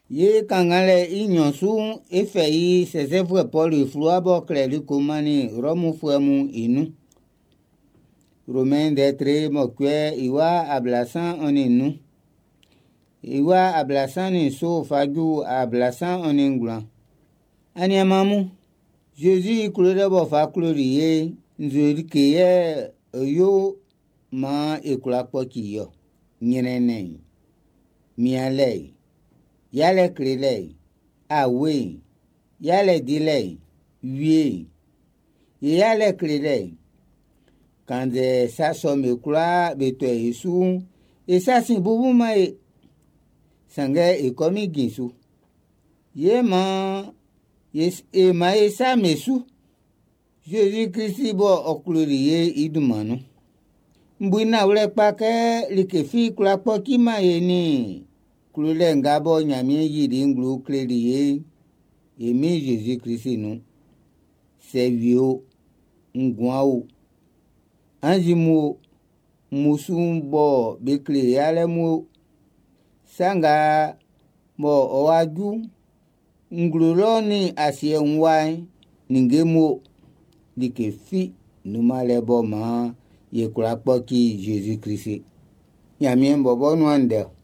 Ye kannganlɛ i nɲɔn su'n, e fɛ i Sɛsɛfuɛ Pɔlu i fluwa b'ɔ klɛli ko mannin Rɔmufuɛ mun i nun. Romain ndɛ tre mɔcuɛ i wa ablasan ɔ nin nnun, i wa ablasan nin nso fa ju ablasan ɔ nin ngwlan. Aniaman mun, Zezi i klolɛ b'ɔ fa kloli ye'n, nzu like yɛ ɔ yo maan e kwla kpɔci i ɔ? Ɲrɛnnɛn'n, mianlɛ'n, yalɛ klelɛ'n, awe'n, yalɛ dilɛ'n, wie'n, i yalɛ klelɛ'n. Kannzɛ sa sɔ'm be kwlaa be tɔ e su'n, e sa sin bubuman e. Sanngɛ e kɔmin jin su. Ye maan e man e sa me su. Zezi Klisi bɔ ɔ kloli ye i dunman nun. N bu i nanwlɛ kpa kɛ like fi kwlá kpɔciman e nin klolɛ nga bɔ Ɲanmiɛn yili i nglo kleli ye'n, e Min Zezi Klisi nun. Sɛ wie o, nguan o, anzi mun o, mmusu'n bɔ be kle yalɛ mun o, sa nga bɔ ɔ wá jú nglo lɔ nin asiɛ wun wa'n, ninnge mun o, like fi nunman lɛ bɔ maan ye kwla kpɔci Zezi Klisi. Ɲanmiɛn bɔbɔ nuan ndɛ.